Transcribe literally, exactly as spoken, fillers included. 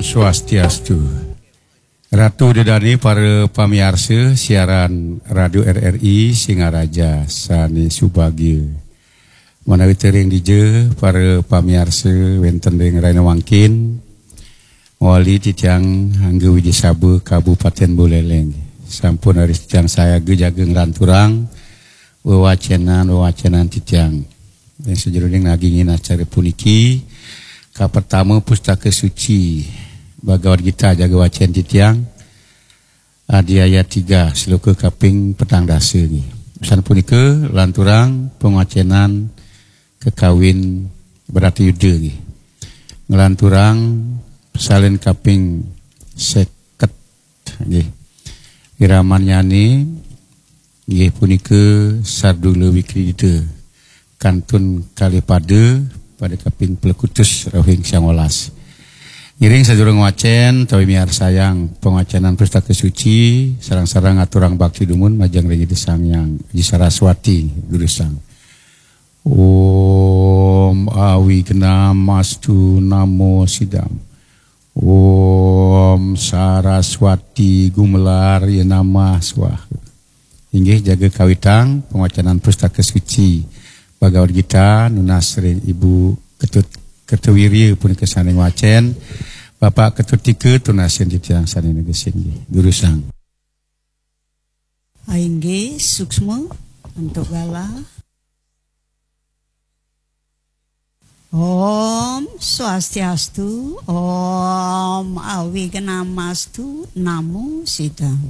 Swastiastu. Ratu Dedane, para pamiarsa siaran Radio R R I Singaraja sane subagia. Manawi tering dija para pamiarsa wenten ring rahina mangkin, wali titiang Angga Wijasaba Kabupaten Buleleng. Sampun raris titiang sayaga jaga nglanturang wewacenan-wewacenan titiang. Ring sajeroning nagingin acara puniki, kapertama Pustaka Suci Bhagavad Gita jaga wacen titiang, adi ayat tiga, sloka kaping petang dasa nggih. Usan punika lanturang pangwacenan kekawin Bratayuda nggih. Nglanturang salin kaping seket nggih. Iramannyane inggih punika Sardula Wikridita, kantun kalih pada, pada kaping plekutus rauhing sangolas. Ngiring sadurung wacen tawi miarsayang pangwacenan Pustaka Suci, sareng-sareng aturang bakti dumun majeng ring Ida Sang Hyang Adi Saraswati durusang. Om Awignam Astu Namo Sidam. Om Saraswati Gumelar Ya Namah Swaha. Inggih jaga kawitang pangwacanan Pustaka Suci Bhagavad Gita nunas ring Ibu Ketut Kertawirya punika sane ngwacen. Bapak Ketut Tika tunasin titiang sane negesin nggih. Durusang. Inggih, suksma antuk galah. Om Swastiastu, Om Awignamastu, Namo Sidam.